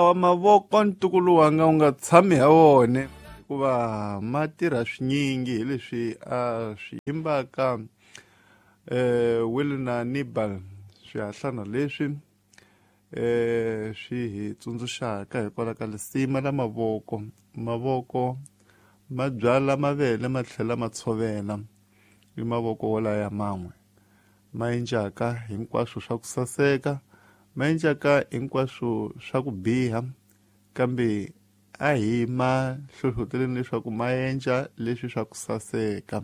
Wa mavoko ntukulu wanga u nga tshami ha wona hikuva ma tirha swinyingi hi leswi a swi yimbaka Wilna Nibal swihahlana leswi swi hi tsundzuxaka hikwalaho ka lisima la mavoko. Mavoko ma byala mavele ma tlhela ma tshovela i mavoko wolaya man'we ma endlaka hinkwaswo swa ku saseka ma endlaka hinkwaswo swa ku biha kambe a hi ma hlohloteleni leswaku ma endla leswi swa ku saseka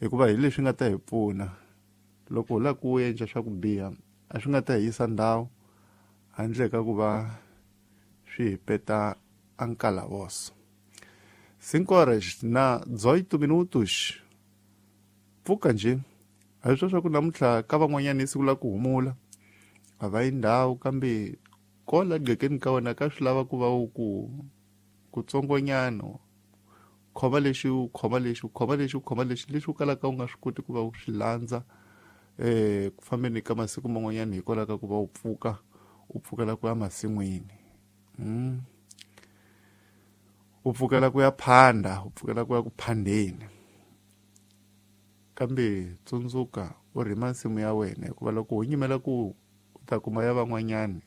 hikuva hi leswi nga ta hi pfuna loko hi lava ku endla swa ku biha a swi nga ta hi yisa ndhawu handle ka ku va swi hi peta ankalavoso. 5 horas na 18 minutos. Pfuka nje a hi swa swa ku namuntlha ka van'wanyana i siku la ku humula a va yi ndhawu kambe kola gqekeni ka wena ka swi lava ku va u ku kutsongonyana khoma lexi u khoma lexi u khoma lexi u khoma lexi lexi u kalaka u nga swi koti ku va u swi landza ku fambeni ka masiku man'wanyana hikwalaho ka ku va u pfuka u pfukela ku ya masin'wini u pfukela ku ya phanda u pfukela ku ya ku phandeni kambe tsundzuka u rima nsimu ya wena hikuva loko u nyimela ku u ta kuma ya van'wanyani.